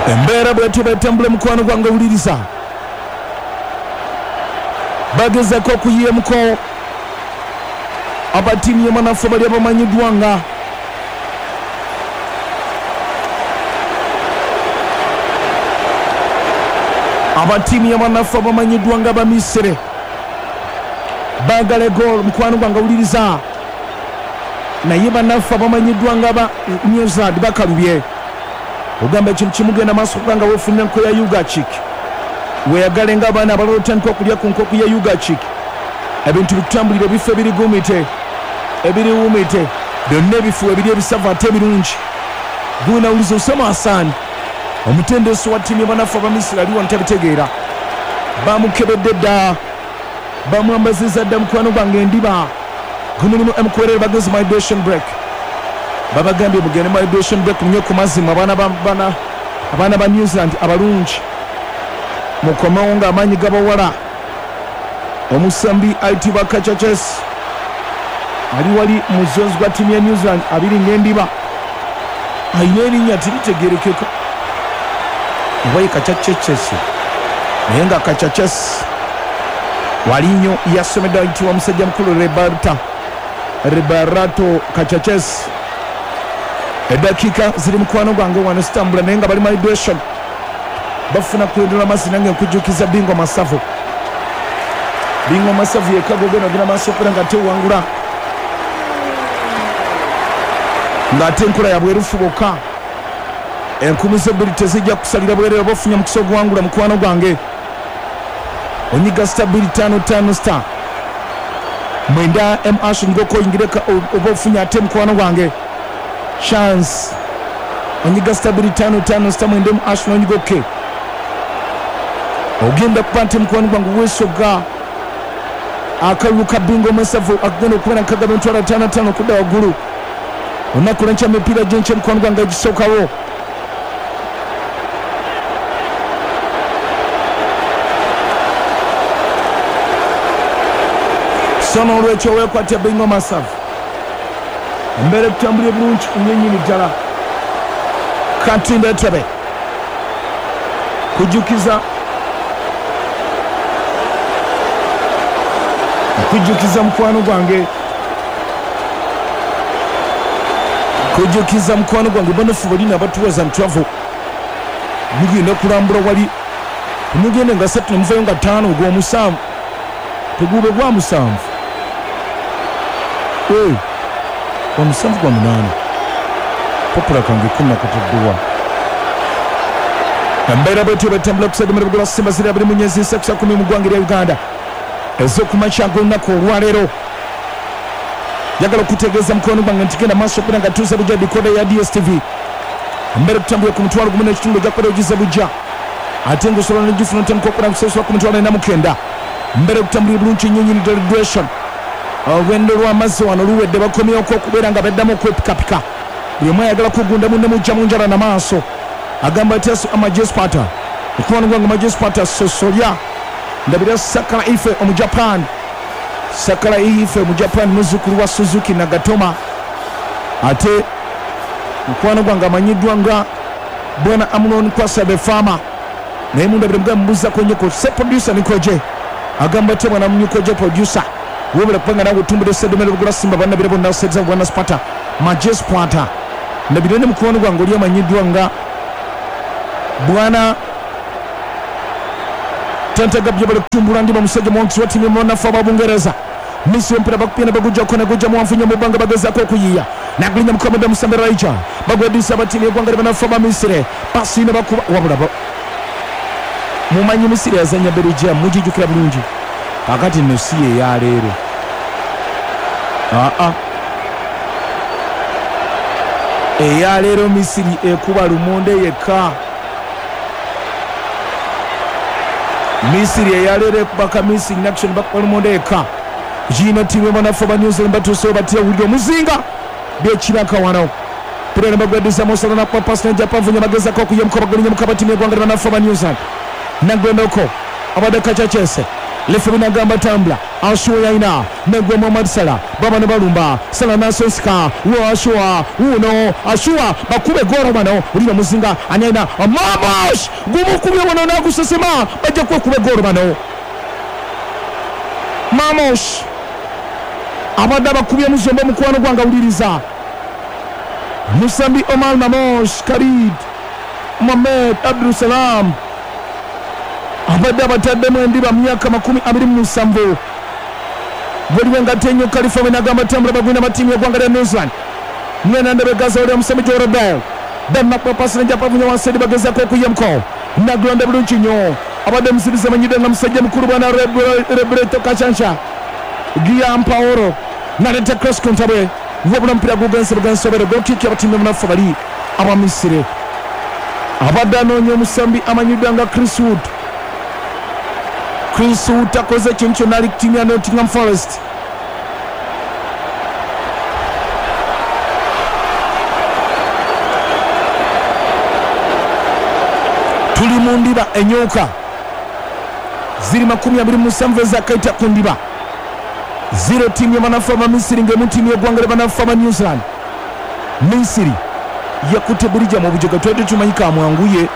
Embeera bwetyo bwetambula mukwano gwange wuliriza. Bagezako okuyiyemuko aba ttiimu y'amanafu bali abamanyiddwa nga aba ttiimu y'abanafu abamanyiddwa nga Abamisiri baagala egoolo mukwano gwange wuliriza naye banaffe abamanyiddwa nga aba New Zealand bakalubye. Ogamba ekintu kimu genda maaso okuba nga weefunira nkoko ya Ugachik. Weeyagale ng'abaana abalala otandike okulya ku nkoko ya Ugachik. Ebintu bikutambulire ebifo ebiriguumite, ebiriwuumite. Byonna ebifo weebiri ebisavu ate ebirungi. Guunawuliza Osama Hassan, omutendesi wa ttiimu y'abanafu aba Misiri ali wano tabitegeera. Baamukebedde dda, bamwambazizza dda mukwano gwange endiba. Gumulimu MKwerere bagenze mu hydration break. Babagambye mugende mu hydration break munywe ku mazzi mwe abaana ba bana abaana ba New Zealand abalungi. Mukomewo nga amaanyi gabawala. Omusambi ayitibwa Kachaches ali wali mu zones gwa ttiimu ya New Zealand abiri ng'endiba. Alina erinnya teritegeerekeka oba ye Kachacheches naye nga Kachaches wali nnyo yasomeddwa ayitibwa musajja mukulu Reberta Reberato Kachaches. Eddakiika ziri mukwano gwange wano zitambula naye nga bali mu hydration bafuna kuyondoola amazzi nange nkujjukiza Bingo Masavu. Bingo Masavu yekka gw'ogenda ogenda maaso okubeera nga ate owangula ng'ate enkola ya bwerufu bwokka. Enkumu zo bbiri tezijja kukusalira bwereere oba ofunye omukisa oguwangula mukwano gwange. Onyiga star bbiri ttaano ttaano star mwenda M ash onyigeko oyingire oba ofunye ate mukwano gwange chance. Onyiga star bbiri ttaano ttaano star mwenda M ash n'onyiga ok. Ogenda kuba nti mukwano gwange weesogga akalulu ka bingo omasavu akagenda okubeera nkagaba emitwalo ataano ataano okudda waggulu. Olunaku lwenkya mipiira gy'enkya mukwano gwange egisookawo. So n'olwekyo weekwate bingo masavu. Embeera ekutambulire bulungi nnyo nnyini ddala. Katinda Entebbe kujjukiza kujjukiza mukwano gwange kujjukiza mukwano gwange banafu balina abatuwaza travel mugenda kulambula wali mugende nga satu nemuvayo nga ttaano ogw'omusanvu teguube gwa musanvu ee gwa musanvu gwa munaana papula kange ko nakataddewa embeera bwetyo bwetambula kusadimira bugula simba ziri abiri mu nyezi nsatu sa kumi mu ggwanga erya Uganda ez'okumakya g'olunaku olwaleero. Njagala okutegeeza mukwano gwange nti genda maaso okubeera nga tuuza bujja dikoda ya DSTV embeera okutambulira ku mutwalo gumu n'ekitundu ojja kubeera ogize bujja ate ng'osobola n'ogifuna otandika okubeera nga kusasula ku mitwalo ena mu kenda. Embeera okutambulira bulungi nnyo nnyini ddala duration. Olwendo lw'amazzi wano luwedde bakomyewoko okubeera nga beddamu okwepikapika. Buli omu ayagala kugunda munne mujja mu njala na maaso. Agamba atya Majespata? Mukwano gwange Majespata Ssosolya. Ndabira Sakala Ife Omujapan. Sakala Ife Omujapan muzzukulu wa Suzuki Nagatoma ate mukwano gwange amanyiddwa nga Bwana Amnon Kwasa the Farmer naye mundabire mugambe mubuzako nnyo ku se producer Nikoje agamba atya bwana Nikoje producer webale kubanga nawe otumbudde Ssedomero Bugula Simba bannabira bonna Ssedza Bwana Spata Maje Spata ndabire ne mukwano gwange oli amanyiddwa nga Bwana Tantagabye bali kutumbula ndiba musajja muwanguzi wa ttiimu y'abanafu aba Bungereza. Misiri omupiira bakupye ne bagujjako ne gujja muwanvu nnyo mu bbanga bagezaako okuyiiya. Nagulinya mukamudde Musambe Raija bagweddiza aba ttiimu y'eggwanga ly'abanafu aba Misiri. Pasi ne bakuba wabula mumanyi Misiri yazannya Belgium mugijjukira bulungi. Kaakati nno si ye ya leero. Aa eya leero Misiri ekuba lumonde yekka. Misiri eyaleero ekuba ka Misiri in action bakuba lumonde yekka. Giino ttiimu y'abanafu aba New Zealand batuusewo batya wulira omuzinga byekiraka wano. Pira ne bagweddiza Mo Salah n'akuba paasi n'ejja Pavunya bagezaako okuyemuka bagolinyemuka aba ttiimu y'eggwanga ly'abanafu aba New Zealand. Nagwendoko abadde Kacakyese. Lefe binagamba tambula Ashuwa yalina negwa Muhammad Salah babano balumba Salah nasonsika wo Ashuwa wuno Ashuwa bakube goro bano ulira muzinga anyalina Mamash gumukubye wano nagusesema bajja kwekuba goro bano Mamash abadde abakubye muzombo mukwano gwange awuliriza Musambi Omar Mamosh Khalid Mohamed Abdul Salam abadde abataddemu endiba myaka 27. Waliwo engatto ennyo Khalifa bwe tambula bagwina batiimu y'eggwanga lya New Zealand mwena ndebegaza oli omusambi Jordan Denmark pasi nejapavunya wansi eri bagezaako okuyamko nagulonda bulungi nnyo abadde omusiriza amanyiddwa nga musajja mukulu bwana Rebreto Kachansha Giampaolo naleta cross kontabwe wabula omupiira gugenze bugensobere goal kick y'abatiimu munafu bali aba Misiri abadde anoonya omusambi amanyiddwa nga Chris Wood. Chris Wood akoze ekintu kyonna ali ku ttiimu ya Nottingham Forest. Tuli mu ndiba enyoka ziri 27 ezakaita ku ndiba 0 ttiimu y'abanafu aba Misiri ng'emu ttiimu y'eggwanga ly'abanafu aba New Zealand. Misiri yakutte Belgium mu bujoga twali tumanyi kamwanguye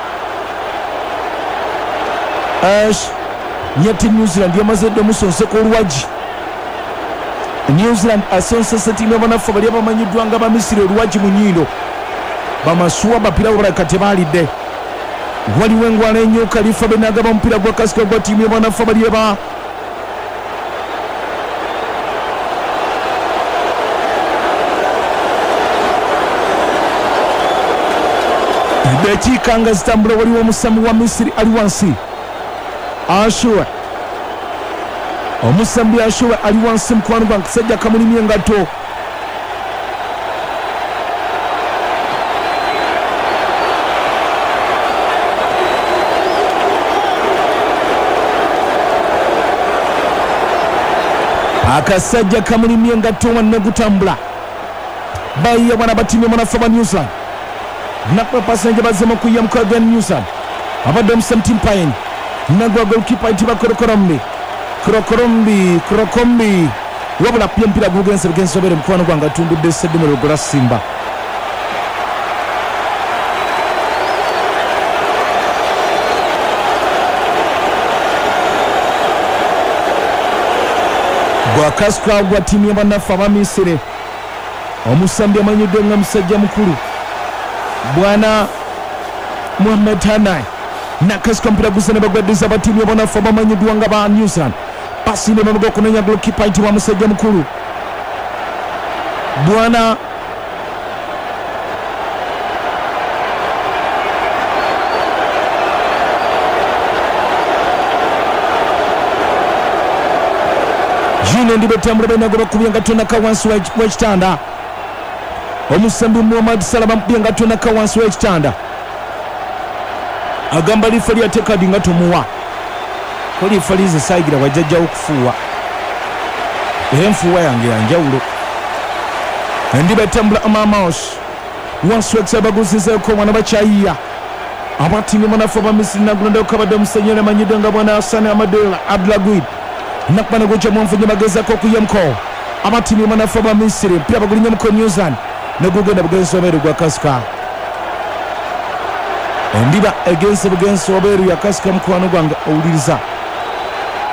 Ash nyati New Zealand yamaze dda omusonseka oluwagi. New Zealand asonsese ttiimu y'abanafu bali abamanyiddwa nga ba Misiri oluwagi mu nnyindo bamasuwa bapira balabika tebaalidde. Waliwo engwala ennyo Khalifa benagaba omupiira gwa kasika gwa ttiimu y'abanafu bali aba dakiika nga zitambula. Waliwo omusambi wa Misiri ali wansi Ashuwa omusambi Ashuwa ali wansi mukwano gwange kasajja kamulimye engatto akasajja kamulimye engatto wanne gutambula bayiya bwana batiimye munafu ba New Zealand nakwa pasanje bazemo kuya mukwaga New Zealand abadde omusambi Timpain nagwa goalkeeper ayitibwa Korokorombi Korokombi wabula pia mpira gugenze bugenze obere mukwano gwange atundudde Sedimero gwa Simba. Gwakasika gwa ttiimu y'abannaffe aba Misiri omusambi amanyiddwa nga musajja mukulu bwana Muhammad Hanai nakasika mpira gusene bagwaddiza abatiimu y'abannaffe abamanyiddwa nga ba New Zealand pasi ne bamuga okunoonya goalkeeper ayitibwa musajja mukulu bwana Jine ndibetambula balina gwe bakubye engatto naka wansi w'ekitanda omusambi Muhammad Salah bamukubye engatto naka wansi w'ekitanda agamba lifa lyateeka kadi nga tomuwa ko lifa lize saagira wajjajjawo okufuuwa era enfuuwa yange yanjawulo. Ndibetambula Amamaos wansi w'ekisa baguzizeeko mwana bakyayiya abatiimu munafu aba Misiri nagulondako kabadde omusenyera amanyiddwa nga bwana Hassan Amadou Abdulaguid nakubana gujja mwanfunye bagezaako okuyamko abatiimu munafu aba Misiri mpira bagulinye muko New Zealand negugenda bugenzi obeeru gwa kasika endiba egenze bugenzi obeeru yakasika mukwano gwange owuliriza.